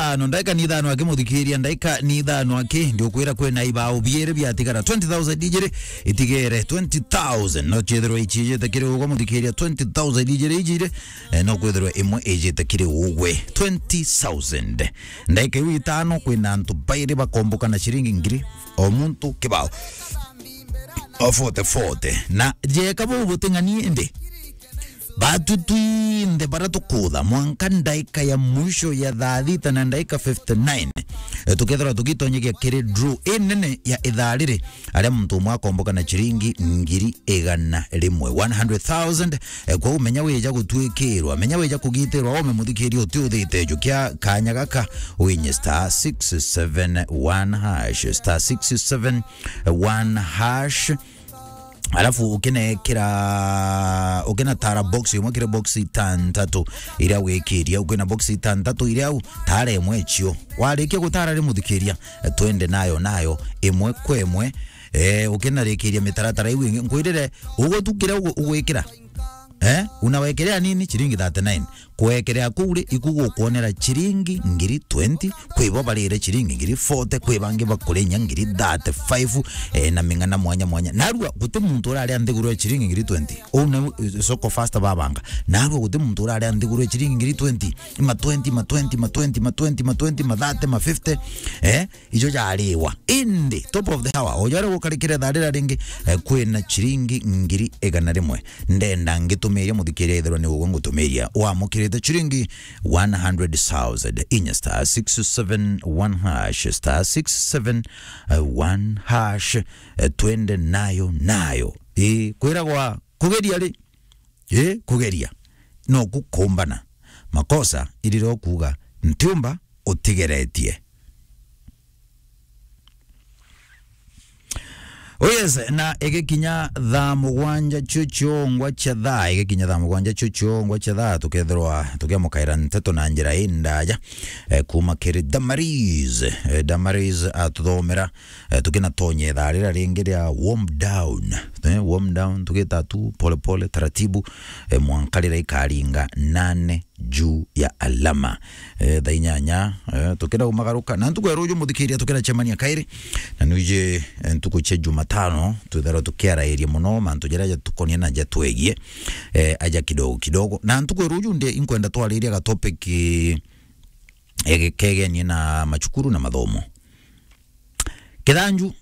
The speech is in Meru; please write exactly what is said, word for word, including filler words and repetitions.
ithano, ndaika ni ithano aki muthikiria, ndaika ni ithano aki, ndiukwira kwina ibao biiri biatigara. Twenty thousand ijiri itigere, twenty thousand. No ciithirwa icijite kiri ugwe muthikiria, twenty thousand ijiri ijiri, eh, no kwithirwa imwe ijite kiri ugwe. Twenty thousand. Ndaika iu itano, kwina antu bairi bakomboka na ciringi ngiri, o muntu kibao. O forty forty. Na jeka bau buting'ani indi. Batu twinthe bara tukutha, mwanka ndaika ya mwisho ya thaa thita na ndaika fifty-nine, eh, tukethirwa tugitonyegia kiri draw inene ya ithaa riri, aria muntu umwe akomboka na ciringi ngiri igana rimwe, one hundred thousand. Eh, kwou menya wija gutwikirwa, menya wija kugitirwa, ome muthikiria uti uthite jukia kanya gaka, winye star six seven one hash, star six seven one hash. Alafu ukinekira, ukinatara box imwe kiri box itantatu iria wikiria, ukina box itantatu iria u, tara imwe cio. Warikia gutara ri muthikiria, twende nayo nayo imwe kwa imwe. Eh, ukinarikiria mitaratara iu ingi, nkwirire ugutukire ugu-, ugwikira. Eh, unawekelea nini? Ciringi thirty-nine. Kwekelea kuu ri, iku gukwonera ciringi ngiri twenty, kwi bo barire ciringi ngiri forty, kwi bangi bakurinya ngiri thirty-five, eh, na ming'ana mwanya mwanya. Narua guti muntu uraria nthiguru ya ciringi ngiri twenty. Uu ni, eh, soko fasta babanga. Narua guti muntu uraria nthiguru ya ciringi ngiri twenty. Ma twenty, ma twenty, ma twenty, ma twenty, ma twenty, ma thirty, ma fifty. Eh, ijo jariwa. Indi, top of the hour, o jaria gukarikire thaa rira ringi, eh, kwina ciringi ngiri igana rimwe. Ndenda ngitumiria muthikiria ithirwa ni ugwe ngutumiria. Wamukirite ciringi one hundred thousand. Inya star six seven one hash, star six seven one hash. Eh, twende nayo, nayo. Ii, kwiragwa kugeria ri? Ii, kugeria. No kukumbana. Makosa iriro kuuga, ntiumba utigeretie. Oh yes, na igikinya thaa mugwanja cio ciongwa cia thaa, igikinya thaa mugwanja cio ciongwa cia thaa, tukethirwa tukiamukaira nteto na njira indaja, eh, kuma kiri Damaris. Eh, Damaris atuthomera, eh, tukinatonye thaa rira ringi ria warm down. Eh, warm down, tugita tu pole pole, taratibu, eh, mwanka rira ikaringa nane juu ya alama. Eh, thaa inyanya, eh, tukenda umagaruka. Na ntuku ya ruju muthikiria tukenda cemania kairi. Na nwiji, eh, ntuku cia Jumatano, twitharwa tukiarairia muno mantu jaria jatukonia na jatwegie, eh, aja kidogo kidogo. Na ntuku ya ruju ndi inkwenda twariria ga topic, eh, kegenie na macukuru na mathomo. Kithanju,